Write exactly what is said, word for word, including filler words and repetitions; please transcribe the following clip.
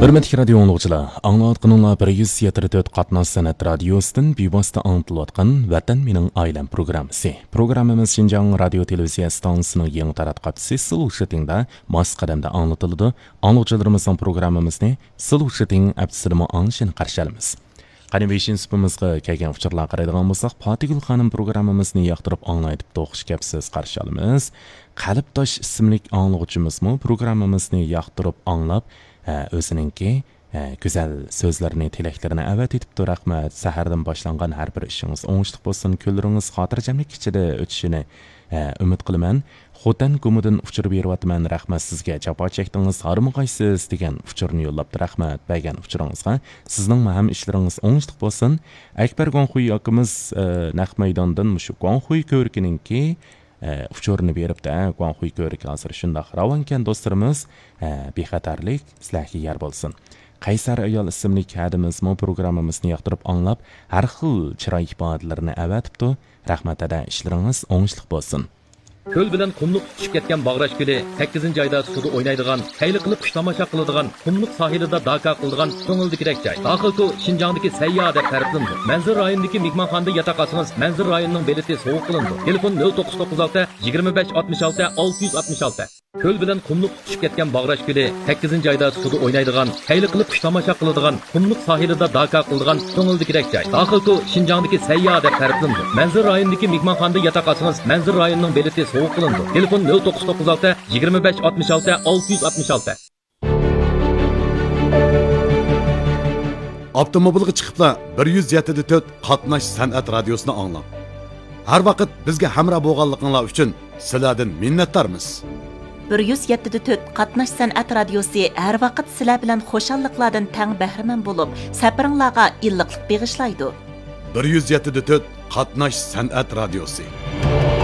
ھۆرمەتلىك رادىيو ئاڭلىغۇچىلار، ئاڭلاۋاتقىنىڭلار بىر يۈز يەتتە تۆت قاتناش سەنئەت رادىيوسىدىن بىۋاسىتە ئاڭلىتىلىۋاتقان ۋەتەن مېنىڭ ئائىلەم پروگراممىسى. پروگراممىمىز شىنجاڭ رادىيو تېلېۋىزىيە ئىستانسىسىنىڭ يېڭى تاراتقۇ ھەپتىسى سىلۇشىتىڭدا ماس قەدەمدە ئاڭلىتىلىدۇ. ئاڭلىغۇچىلىرىمىزنىڭ پروگراممىمىزنى سىلۇشىتىڭ ھەپتىسىدىمۇ ئاڭلىشىنى قارشى ئالىمىز. قېنى، بېشىنچى سۇپىمىزغا كەلگەن ئۇچۇرلارغا قارايدىغان بولساق، پاتىگۈل خانىم پروگراممىمىزنى ياقتۇرۇپ ئاڭلاي دەپتۇ، خۇش كەپسىز، قارشى ئالىمىز. قەلبداش ئىسىملىك ئاڭلىغۇچىمىزمۇ پروگراممىمىزنى ياقتۇرۇپ ئاڭلاپ، ھە، ئۆزىنىڭكى، ھە، گۈزەل سۆزلىرىنى، تىلەكلىرىنى ئەۋەتىۋېتىپتۇ. رەھمەت. سەھەردىن باشلانغان ھەر بىر ئىشىڭىز ئوڭۇشلۇق بولسۇن، كۈنلىرىڭىز خاتىرجەملىك ئىچىدە ئۆتۈشىنى، ھە، ئۈمىد قىلىمەن. خوتەن گۇمىدىن ئۇچۇر بېرىۋاتىمەن، رەھمەت سىزگە، جاپا چەكتىڭىز، ھارمىغايسىز دېگەن ئۇچۇرنى يوللاپتۇ. رەھمەت بەرگەن ئۇچۇرىڭىزغا. سىزنىڭمۇ ھەم ئىشلىرىڭىز ئوڭۇشلۇق بولسۇن. ئەكبەر گۇاڭخۇي ئاكىمىز، ئە، نەق مەيداندىن مۇشۇ گۇاڭخۇي كۆۋرۈكىنىڭكى، ئە، ئۇچۇرىنى بېرىپتۇ. ھە، گۇاڭخۇي كۆۋرۈكى ھازىر شۇنداق راۋانكەن دوستلىرىمىز. ھە، بىخەتەرلىك سىلەرگە يار بولسۇن. قەيسەر ئايال ئىسىملىك ھەدىمىزمۇ پروگراممىمىزنى ياقتۇرۇپ ئاڭلاپ، ھەر خىل چىراي ئىپادىلىرىنى ئەۋەتىپتۇ. رەھمەت ھەدە، ئىشلىرىڭىز ئوڭۇشلۇق بولسۇن. كۆل بىلەن قۇملۇق تۇتىشىپ كەتكەن باغراش كۆلى، سەككىزىنچى ئايدا سۇدا ئوينايدىغان، كەيلى قىلىپ قۇش تاماشا قىلىدىغان، قۇملۇق ساھىلىدا داكا قىلىدىغان كۆڭۈلدىكىدەك جاي. داخىلكو شىنجاڭدىكى سەيياھ دەپ تەرىپلىنىدۇ. مەنزىرە رايونىدىكى مېھمانخانىدا ياتاق ئالسىڭىز، مەنزىرە رايونىنىڭ بېلىتى سوۋغا قىلىنىدۇ. تېلېفون: نۆل توققۇز توققۇز ئالتە، يىگىرمە بەش، ئاتمىش ئالتە، ئالتە يۈز ئاتمىش ئالتە. كۆل بىلەن قۇملۇق تۇتۇشۇپ كەتكەن باغراش كۆلى، سەككىزىنچى ئايدا سۇدا ئوينايدىغان، كەيلى قىلىپ قۇش تاماشا قىلىدىغان، قۇملۇق ساھىلىدا داكا قىلىدىغان كۆڭۈلدىكىدەك جاي. داخىلكو شىنجاڭدىكى سەيياھ دەپ تەرىپلىنىدۇ. مەنزىرە رايونىدىكى مېھمانخانىدا ياتاق ئالسىڭىز، مەنزىرە رايونىنىڭ بېلىتى سوۋغا قىلىنىدۇ. تېلېفون: نۆل توققۇز توققۇز ئالتە، يىگىرمە بەش، ئاتمىش ئالتە، ئالتە يۈز ئاتمىش ئالتە. ئاپتوموبىلغا چىقىپلا بىر يۈز يەتتە تۆت قاتناش سەنئەت رادىيوسىنى ئاڭلاڭ. ھەر ۋاقىت بىزگە ھەمراھ بولغانلىقىڭلار ئۈچۈن سىلەردىن مىننەتدارمىز. بىر يۈز يەتتە تۆت قاتناش سەنئەت رادىيوسى ھەر ۋاقىت سىلەر بىلەن خۇشاللىقلاردىن تەڭ بەھرىمەن بولۇپ، سەپىرىڭلارغا ئىللىقلىق بېغىشلايدۇ. بىر يۈز يەتتە تۆت قاتناش سەنئەت رادىيوسى.